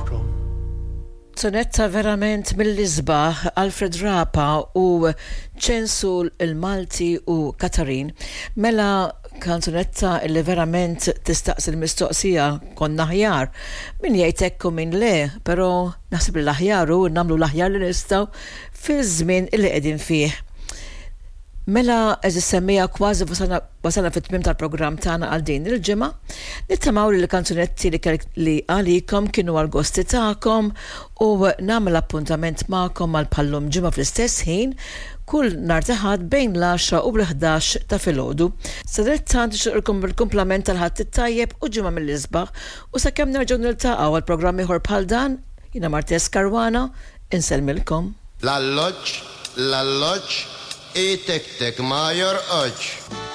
from. Sonetta verament mill-isbaħ Alfred Rapa u Ċensu l-Malti u Katarin. Mela kanzunetta li verament tistaqsi l-mistoqsija konna aħjar. Min jgħid hekk u min le, però naħseb li l-aħjar hu nagħmlu l-aħjar li nistgħu fiż-żmien li qegħdin fih. Mela għeżież semmiegħa kważi wasalna fit-tmiem tal-programm tagħna għal din il-ġimgħa. Nittamaw li l-kanzunetti li kelli għalikom kienu għall-gosti tagħkom u nagħmel appuntament magħkom għal bħal-lum ġimgħa fl-istess ħin kull nhar ta' Ħadd bejn l-għaxra u l-11 ta' filgħodu. Sadanittant nixtieqilkom il-kumplament tal-Ħadd it-tajjeb u ġimgħa mill-isbaħ u sakemm nerġgħu niltaqgħu għal programm ieħor bħal dan, jiena Martez Caruana, insellmilkom. L-alloġġ, l-alloġġ, itektek ma jorqodx.